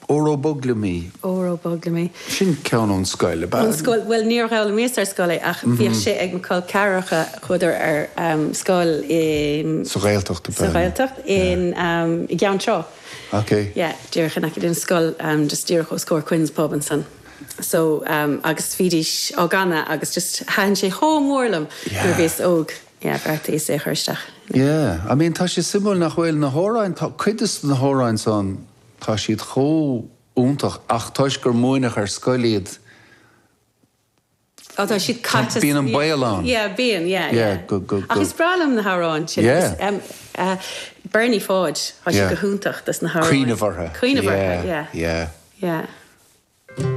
Óró Bog Liom Í. Óró Bog Liom Í. Sin ceann ón scoil, ab ea? Ón scoil, bhuel níor fhoghlaimíos ar scoil é ach bhíodh sé ag mo chol ceathracha, chuadar ar scoil i. Sa Ghaeltacht, ab ea? Sa Ghaeltacht, in, i gCeann Trá. Ok. Yeah, díreach in aice linn, scoil just díreach os comhair Quinn's Pub ansan. So, agus bhídís á gcanadh agus just thaitin sé chomh mór liom nuair a bhíos óg. Yeah, bheartaíos é a chur isteach. Yeah, I mean tá sé suimiúil nach bhfuil na hamhráin, tá cuid de na hamhráin san, tá siad chomh iontach ach toisc gur múineadh ar scoil iad, Oh, tá siad caite. Bíonn an baol ann. Yeah, bíonn, yeah, yeah. Go, go, go. Ach is breá liom na hamhráin sin. Yeah. Agus, um, Bernie Pháid, tá sé go hiontach dos na hamhráin. Cuimhneamh orthu. Cuimhneamh orthu, yeah. Yeah. Yeah.